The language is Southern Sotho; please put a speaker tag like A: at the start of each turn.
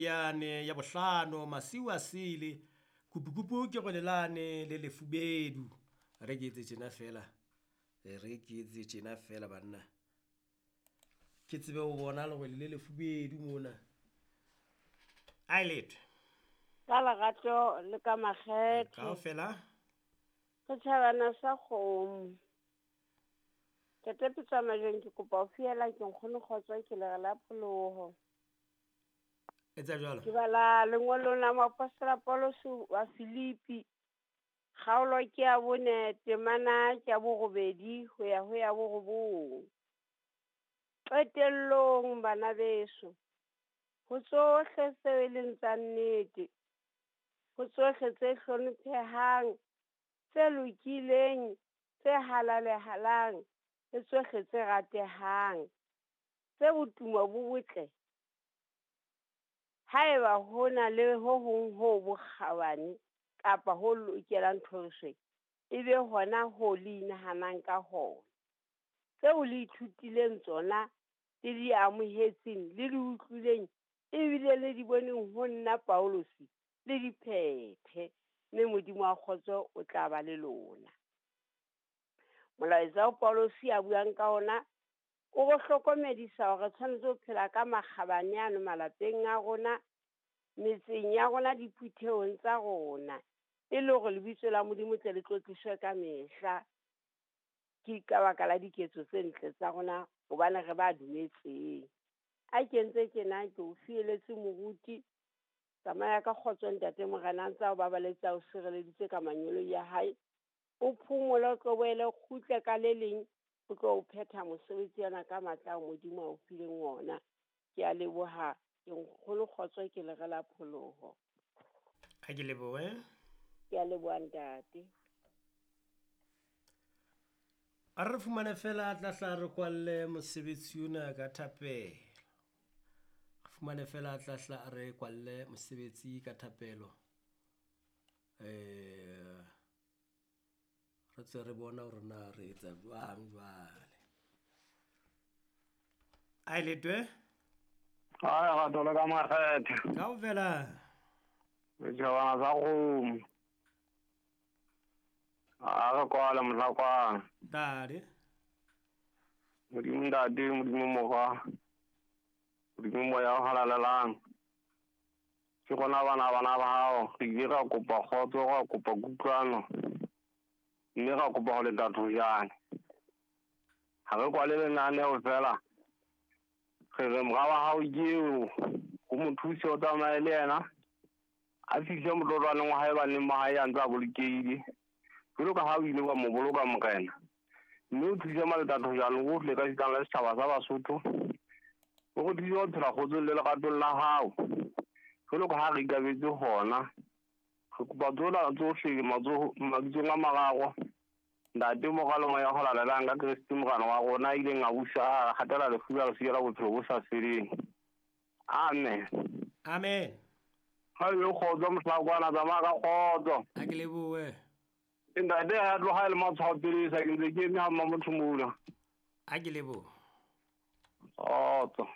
A: Yane ya bohlano masiu a sele kupukupu ke go lelane le lefubedu. Re ke etse tjena fela, re ke etse tjena fela banna. Ke tsebe ho bona lerwele le lefubedu mona. A e letho.
B: Ka lerato le ka makgethe.
A: Kaofela.
B: Setjhabana sa kgomo. Ntate Petsamajong ke kopa ho fiela ke nkgono kgotso ke lere la pholoho.
A: Etsa jwalo.
B: Ke bala lengolong la moapostola Paulus wa Filipi. Kgaolo ke ya bone temana ke ya borobedi ho ya ho ya borobong. Qetellong bana beso, ho tsohle tseo e leng tsa nnete, ho tsohle tse hlomphehang, tse lokileng, tse halalehalang, le tsohle tse ratehang, tse botumo bo botle, haeba ho na le ho hong ho bokgabane kapa ho lokelang thoriso, e be hona ho le inahanang ka hona. Tseo le ithutileng tsona, le di amohetseng, le di utlwileng, ebile le di boneng ho nna Paulus, le di phethe, mme Modimo wa kgotso o tla ba le lona. Molaetsa o Paulus a buang ka ona o re hlokomedisa hore re tshwanetse ho phela ka makgabane ano malapeng a rona, metseng ya rona, diphuthehong tsa rona, e le hore lebitso la Modimo tle le tlotliswe ka mehla. Ke ka baka la diketso tse ntle tsa rona hobane re ba dumetseng. A ke ntse tjena ke o fieletse moruti. Tsamaya ka kgotso ntate Morena a ntse a o babaletse a o sireleditse ka manyolo ya hae. O phomole o tlo boele o kgutle ka le leng o tlo o phetha mosebetsi ona ka matla ao Modimo a o fileng ona. Ke a leboha, ke nkgono kgotso ke lere la pholoho.
A: Ha ke lebohe.
B: Ke a leboha ntate.
A: A re fumane fela tla hla re kwalle mosebetsi ona ka thapelo. Re fumane fela tla hla re kwalle mosebetsi ka thapelo. Re tswe re bona hore na re etsa jwang jwale. A e letwe?
C: Ai, rato le ka makgethe.
A: Kaofela.
C: Setjhabana sa kgomo. A re kwale mohlakwana.
A: Ntate.
C: Modimo ntate, Modimo mokgwa. Modimo moya o halalelang. Ke rona bana bana ba hao, re ile ra kopa kgotso, ra kopa kutlwano. Mme ra kopa ho leta thojane. Ha re kwale lenaneo fela. Re re mora wa hao ke eo, o mo thuse o tsamaye le yena. A fihle motlotwaneng wa hae baneng ba hae a ntse a bolokehile. Jwalo ka ha o ile wa mo boloka Morena. Mme o thuse maletathojane ohle ka sitang la setjhaba sa Basotho. O re thuse ho phela kgotsong le leratong la hao. Jwalo ka ha re ikabetse hona. Re kopa tsona tsohle mabitsong a mararo. Ntate Mora le Moya o Halalelang ka Kreste Morena wa rona a ileng a busa a hatela lefu la re siela bophelo bo sa feleng. Amen.
A: Amen.
C: Ha yo kgotso mohlakwana, tsamaya ka kgotso.
A: A ke lebohe.
C: Ntate ha tloha le matshwao pele sa ke ntse ke eme ha mma motho mona.
A: A ke lebohe.
C: Kgotso.